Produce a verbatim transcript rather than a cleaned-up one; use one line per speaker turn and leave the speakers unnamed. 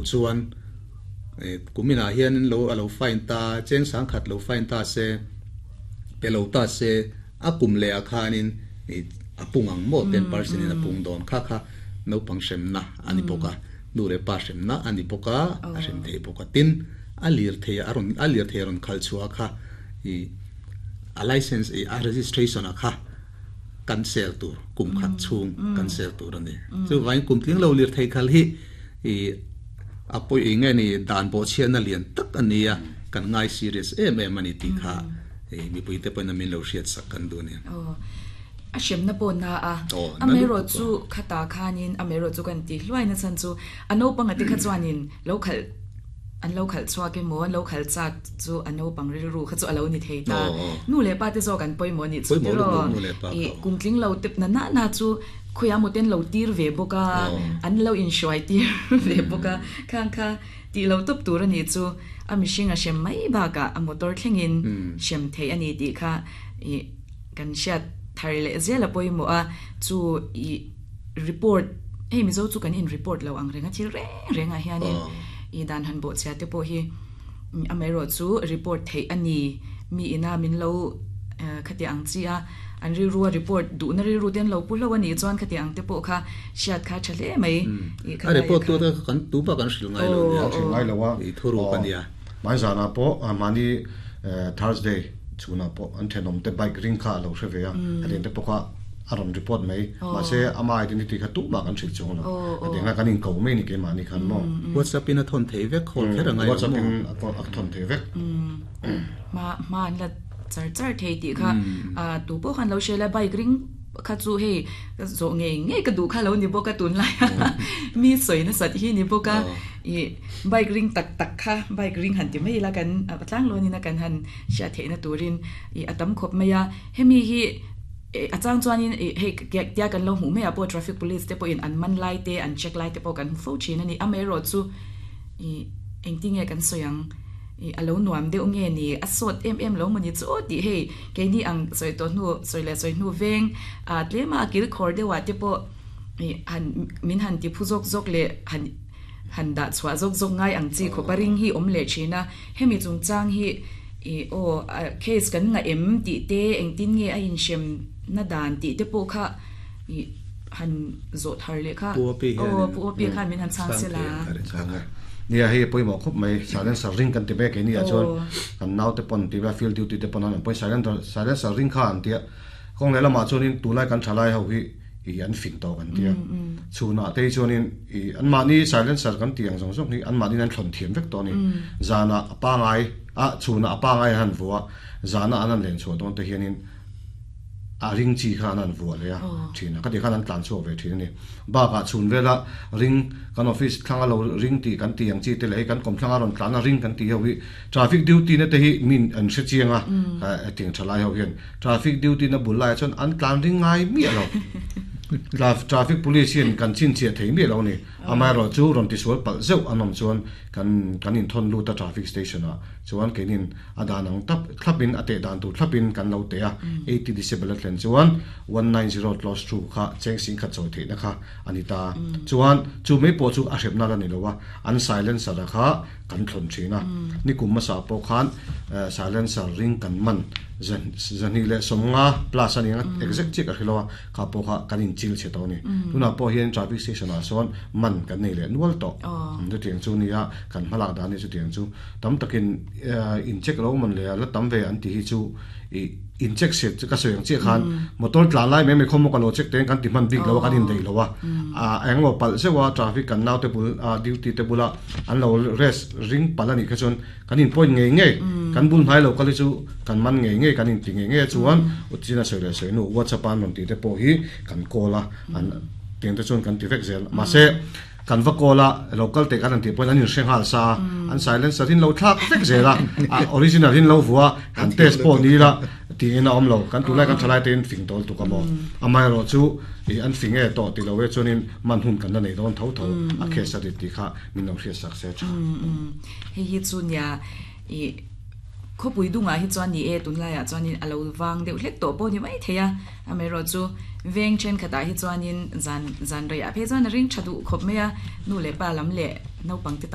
chuan kumina hian lo alo fine ta cheng sang khat lo fine ta se pe lo ta se a kum le a khanin apung ang mo ten percent in apung don kha kha no pang sem na ani poka nu le pa sem na ani poka a sem thei poka tin a lir thei aron a lir thei ron khal chua kha i a license i a registration a kha cancel tur kum khat chung cancel tur ani chu vain kum tling lo lir thei khal hi i apoi inge ni dan bo chian na lian tak ania kan ngai serious em em ani ti kha e mi pui te pon min lo hriat sak kan du ni
a shem na pon na a amero chu khata khanin amero chu kan ti hluai na chan chu ano panga te kha chuanin lo khal an lo khal chua ke mo an lo khal chak chu ano pang ri ru kha chu alo ni thei ta nu le pa te zo kan poi mo ni chu te ro e kumtling lo tep na na na chu khoya mo ten lo tir ve boka an lo in shoi tir ve boka khang kha ti lo top tur ani chu a mihring a shem mai ba ka a motor thlengin shem thei ani ti kha e kan shat thar le zela poi mo a chu i report hey mi zo chu kan in report lo ang renga thil reng renga hianin i dan han bo cha te po hi amero chu report thei ani mi ina min lo khati ang chi a an ri ruwa report du na ri ru ten lo pu lo ani chuan khati ang te po kha siat kha thale mai
i kha report tu ta kan tu ba kan hril ngai lo
nia hril ngai lo wa
i thuru kan ya
mai zana po mani Thursday chuna po an thenom te bike ring kha lo hre ve a aden te po kha aron report mai ma se ama identity kha tu ma kan hril chong lo aden nga kan in ko mai ni ke ma ni khan mo
WhatsApp in a thon thei vek khol khera ngai
WhatsApp in a thon thei vek
ma ma an la char char thei ti kha a tu po khan lo shela bike ring kha chu hei zo nge nge ka du kha lo ni bo ka tun lai mi soi na sat hi ni bo ka i bike ring tak tak kha bike ring han ti mai la kan atlang lo ni na kan han sha the na turin i atam khop maya hemi hi achang chuanin hei tia kan lo hmu me apo traffic police te po in an man lai te an check lai te po kan fo chin ani amero chu i engtinge kan soyang i alo nuam deuh nge ni a sot em em lo mani chu ti hei ke ni ang soi to nu soi le soi nu veng a tlema kil khor dewa te po i han min han ti phuzok zok le han han da chwa zok zok ngai ang chi kho paring hi om le china hemi chung chang hi i o case kan nga em ti te engtin nge a in shem na dan ti te po kha i han zo thar le kha o pu pi khan min han chang se la
nia hei poi mo khop mai silencer ring kan ti be ke ni a chuan kan nau te pon ti ba field duty te pon an poi silencer silencer ring kha an tia kong le lama chuan in tulai kan thalai ho hi i an fing to kan tia chuna te chuan in i an ma ni silencer kan tiang zong zong ni an ma ni an thlon thiam vek to ni zana pa ngai a chuna pa ngai han vua zana an an len chu don te hian in a ring chi kha an vua le a thina ka ti khan an tlan chu ve thin ni ba ka chun vela ring kan office thlanga lo ring ti kan tiang chi te le kan kom thlanga ron tlan a ring kan ti ho hi traffic duty na te hi min an hre chianga ka tiang thalai ho hian traffic duty na bulai chuan an tlan ring ngai mi lo traffic police in kan chin che thei mi lo ni amai ro chu ron ti sual pal zeu anom chuan kan kan in thon lu ta traffic station a chuan kenin adan ang tap thlapin ate dan tu thlapin kan lo te a eighty decibel thlen chuan one nine zero close to kha cheng sing kha choi thei na kha anita chuan chu me po chu a hrepna la ni lowa an silencer kha kan thlon thina ni kum ma sa po khan silencer ring kan man zan zani le somnga plus ani exact chik a khilowa kha po kha kan in chil che to ni tuna po hian traffic station a sawn man kan nei le nual to chu tiang chu nia kan hmalak dan ni chu tiang chu tam takin in check lo man le la tam ve an ti hi chu i in check set ka soyang che khan motor tlan lai me me khom ka lo check ten kan ti man bik lo kan in dei lowa a englo pal sewa traffic kan nau te bul a duty te bula an lo rest ring palani kha chon kan in point nge nge kan bul hnai lo kali chu kan man nge nge kan in ti nge nge chuan uchina soi le soi nu WhatsApp an ron ti te po hi kan kola an tiang te chuan kan ti vek zel ma se kan va kola local te kan an ti point an in hreng hal sa an silencer in lo thlak vek zela a original in lo vua kan test po ni la ti ina om lo kan tulai kan thalai ten fing tol tu ka mo amai ro chu i an fing e to ti lo we chuanin man hun kan na nei don tho tho a khe sa ti ti kha min lo hria sak se cha
hei hi chu nia i kho pui dunga hi chuan ni e tun lai a chuanin alo wang deuh hlek to po ni mai theia amero chu veng chen khata hi chuanin zan zan rei a phe chuan ring thadu khop meya nu le pa lam le no pang te